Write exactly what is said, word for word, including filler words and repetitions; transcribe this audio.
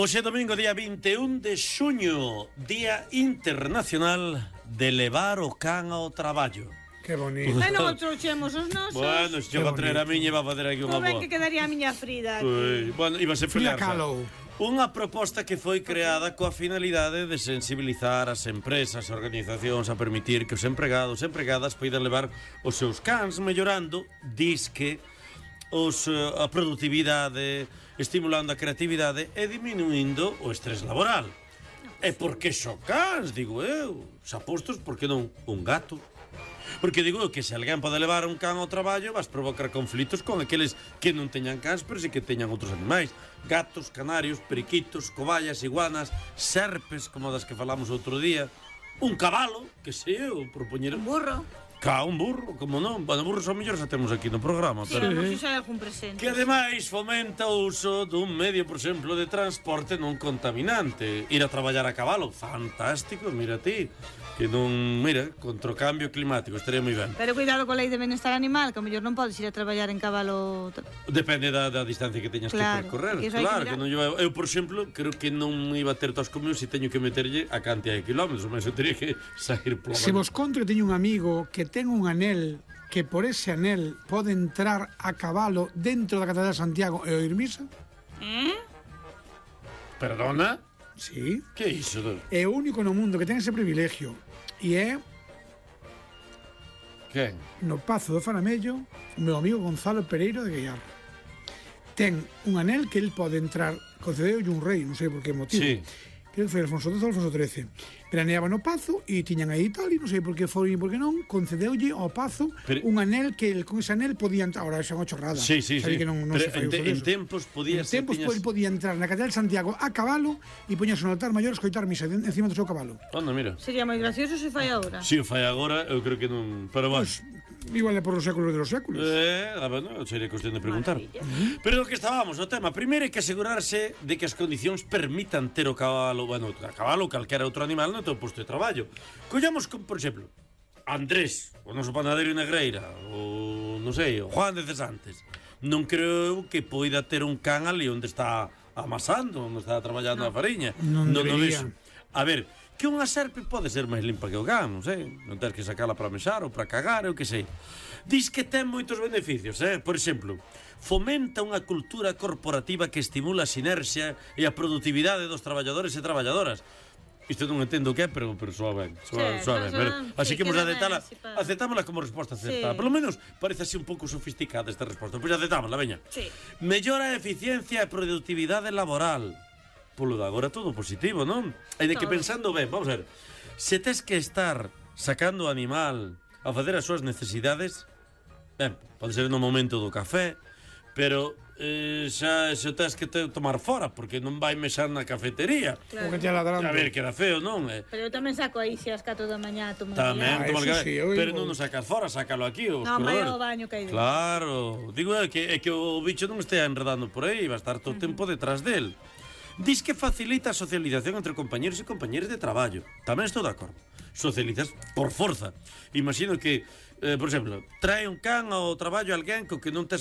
Hoxe domingo, día vinte e un de xuño, Día Internacional de levar o can ao traballo. Que bonito. E non trouxemos os nosos. Bueno, se eu vou traer a miña e va a fazer aquí unha Non ven boa. que quedaría a miña Frida aquí. Ui, bueno, iba a ser Frida pelear. Kahlo. Unha proposta que foi creada coa finalidade de sensibilizar as empresas e organizacións a permitir que os empregados e empregadas poidan levar os seus cans, mellorando, disque, os, a produtividade, estimulando a creatividade e diminuindo o estrés laboral. E por que só cans, digo eu? Xa postos, por que non un gato? Porque digo que se alguén pode levar un can ao traballo, vas provocar conflitos con aqueles que non teñan cans, pero si que teñan outros animais. Gatos, canarios, periquitos, cobayas, iguanas, serpes, como das que falamos outro día. Un cabalo, que sei eu, propoñer... Un burro. Ca, un burro, como non? Bueno, burros ao mellor xa temos aquí no programa, Sí, pero... vamos a hai algún presente. Que ademais fomenta o uso dun medio, por exemplo, de transporte non contaminante. Ir a traballar a cabalo, fantástico, mira ti. Que non, mira, contra o cambio climático, estaría moi ben. Pero cuidado coa lei de benestar animal, que ao mellor non podes ir a traballar en cabalo. Depende da, da distancia que teñas Claro, que percorrer. que iso hai Claro, que que non lleva... Eu, por exemplo, creo que non iba a ter tos comigo se teño que meterlle a cantidad de kilómetros, mas eu teria que sair pola Se vos conto que teño un amigo que ten un anel que por ese anel pode entrar a cabalo dentro da Catedral de Santiago e oír misa. Eh? Perdona? Sí. Que é iso? É o único no mundo que ten ese privilegio. E é Quen? no Pazo do Faramello o meu amigo Gonzalo Pereiro de Guiar. Ten un anel que el pode entrar, concedeulle un rei, non sei por que motivo. Sí. Que foi Alfonso doce ou Alfonso trece. Veraneaba no Pazo e tiñan aí tal, e non sei por que foi e por que non, concedeulle ao Pazo Pero... un anel que el, con ese anel podía entrar. Ahora xa é unha chorrada. Sí, sí, sí. Que non, non Pero se fai en, uso te, deso. en tempos podía En ser... tempos tiñas... el podía entrar na Catedral de Santiago a cabalo e poñerse no altar maior a escoitar misa de- encima do seu cabalo. Anda, mira. Sería moi gracioso se fai agora. Si o fai agora, eu creo que non... Pero bueno. Pues, igual é por os séculos de los séculos. Eh, a ver, non, sería cuestión de preguntar. Maravilla. Pero o que estábamos, o tema, primeiro hai que asegurarse de que as condicións permitan ter o cabalo, bueno, o cabalo ou calquera outro animal no teu posto de traballo. Collamos, como, por exemplo, Andrés, o noso panadeiro Negreira, ou, non sei, o Juan de Cesantes. Non creo que poida ter un can ali onde está amasando, onde está traballando a fariña. Non debería. vexo. A ver, que unha serpe pode ser máis limpa que o can, non sei, non tens que sacala para mesar ou para cagar, eu que sei. Dis que ten moitos beneficios, eh? Por exemplo, fomenta unha cultura corporativa que estimula a sinerxia e a produtividade dos traballadores e traballadoras. Isto non entendo o que é, pero, pero soa ben, soa, Sí, soa ben. soa Pero, ben, así sí, que imos queda ben, aceptala, así pa- aceptámola como resposta acertada. Sí. Polo menos parece así un pouco sofisticada esta resposta. Pois aceptámola, veña. Sí. Mellora a eficiencia e produtividade laboral. Polo de agora todo positivo, non? E de que Todo. pensando ben, vamos a ver, se tes que estar sacando o animal a facer as súas necesidades, ben, pode ser no momento do café, pero eh, xa se o tes que te tomar fora, porque non vai mexar na cafetería. O que te ladrando. A ver, queda feo, non? Eh, Pero eu tamén saco aí se as catro da mañá a tomar Tamén, Ah, tomar eso café, sí, eu pero digo- non o sacas fora, sácalo aquí, os Non, vai corredores. ao baño que hai dentro. Claro, digo é que, é que o bicho non estea enredando por aí, va a estar todo o tempo detrás del. Dis que facilita a socialización entre compañeros e compañeras de traballo. Tamén estou de acordo. Socializas por forza. Imagino que, eh, por exemplo, trae un can ao traballo alguén co que non tes